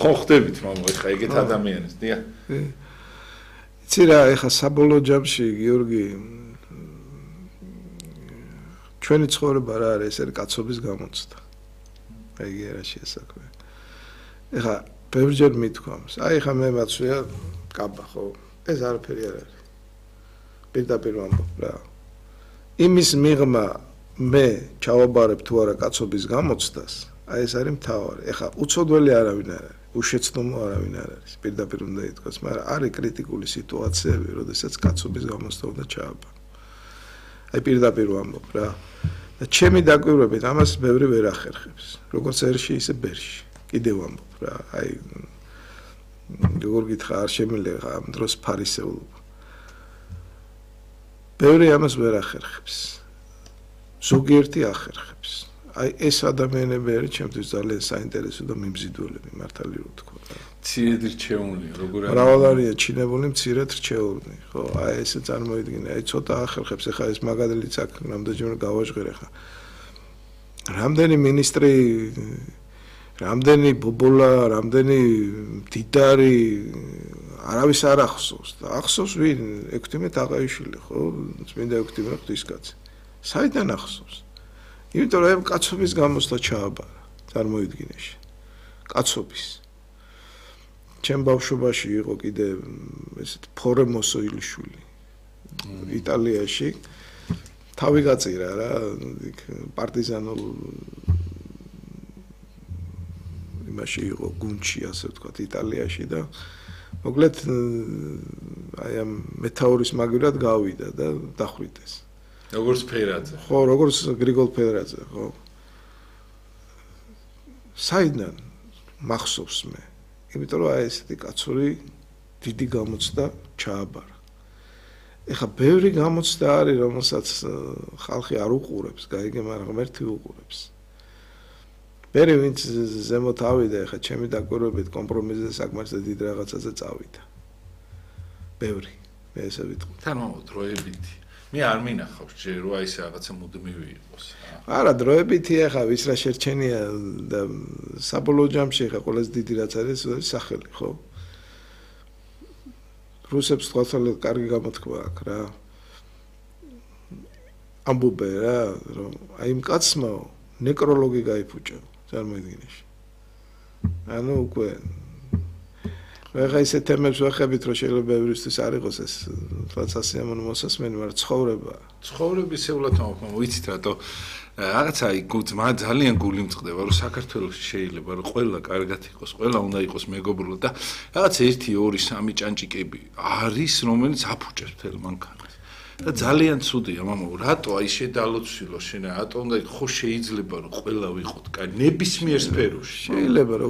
ხო ხდებით მამა ეხა ეგეთ ადამიანებს დია იცი რა ეხა საბოლოო ჯამში გიორგი ჩვენი ცხოვრება რა არის ეს არის კაცობის გამოცდა აი რა შეასაქმე ეხა ბევრჯერ მithქვამს აი ეხა მე მაცვია კაბა ხო ეს არაფერი არ არის პირდაპირ ვამბობ რა იმის მიღმა მე ჩავაბარებ თუ არა კაცობის გამოცდას აი ეს არის მთავარი ეხა უცოდველი არავინ არ არის უშეცდომო არავინ არ არის პირდაპირ უნდა ითქვას მაგრამ არის კრიტიკული სიტუაციები როდესაც კაცობის გამოცდა უნდა ჩააბარო აი პირდაპირ ვამბობ რა და ჩემი დაკვირვებით ამას ბევრი ვერ ახერხებს როგორც ერში ისე ბერში კიდევ ვამბობ რა აი როგორ გითხრა არ შემიძლია ამ დროს ფარისეულობა ბევრი ამას ვერ ახერხებს ზოგიერთი ახერხებს აი ეს ადამიანები არის ჩემთვის ძალიან საინტერესო და მიმზიდველები მართალი რო თქვა მცირედ რჩეული როგორ არის მრავალ არია ჩინებული მცირედ რჩეული ხო აი ესე წარმოიდგინე აი ცოტა ახერხებს ეხა ეს მაგალითიც აქ რამდენჯერ გავაჟღერე ხა რამდენი მინისტრი რამდენი ბობოლა რამდენი მდიდარი არავის არ ახსოვს და ახსოვს ვინ ექვთიმე თაყაიშვილი ხო წმინდა ექვთიმე ღვთისკაცი საიდან ახსოვს იმიტომ რომ კაცობის გამოსვლა ჩააბარა წარმოიდგინეში კაცობის ჩემ ბავშვობაში იყო კიდე ესეთ ფორემოსო ილიშვილი იტალიაში თავი გაწირა რა პარტიზანულ იმაში იყო გუნდში ასე ვთქვათ იტალიაში და მოკლედ აი ამ მეთაურის მაგივრად გავიდა და დახვრიტეს როგორც ფერაძე ხო როგორც გრიგოლ ფერაძე ხო საიდან მახსოვს მე იმიტომ რომ აი ესეთი კაცური დიდი გამოცდა ჩააბარა ეხა ბევრი გამოცდა არის რომელსაც ხალხი არ უყურებს გაიგე მაგრამ ერთი უყურებს მე ვინც ზემოთ ავიდა ეხა ჩემი დაკვირვებით კომპრომისზე საკმარისად დიდ რაღაცაზე წავიდა ბევრი მე ესე ვიტყვი თან დროებითი მე არ მინახავს ჯერ რომ აი ეს რაღაცა მუდმივი იყოს არა დროებითი ეხა ვის რა შერჩენია და საბოლოო ჯამში ეხა ყველაზე დიდი რაც არის სახელი ხო რუსებს თვალსაჩინო კარგი გამოთქვა აქვს რა ამბობენ რა რომ აი იმ კაცმა ნეკროლოგი გაიფუჭა წარმოიდგინეში ანუ უკვე ეხა ისე თემებს ვახებით რომ შეიძლება ბევრისთვის არ იყოს ეს თვალსასიამოვნო მოსასმენი მაგრამ ცხოვრების ეულად მოხმო ვიცით რატო რაღაცა ძმა ძალიან გული მწყდება რომ საქართველოში შეიძლება რომ ყველა კარგად იყოს ყველა უნდა იყოს მეგობრო და რაღაც 1 2 3 ჭანჭიკები არის რომელიც აფუჭებს მთელ მანქანას და ძალიან ცუდია მამაო რატო აი შედალოცილო შენ რატო უნდა ხო შეიძლება რომ ყველა ვიყოთ კაი ნებისმიერ სფეროში შეიძლება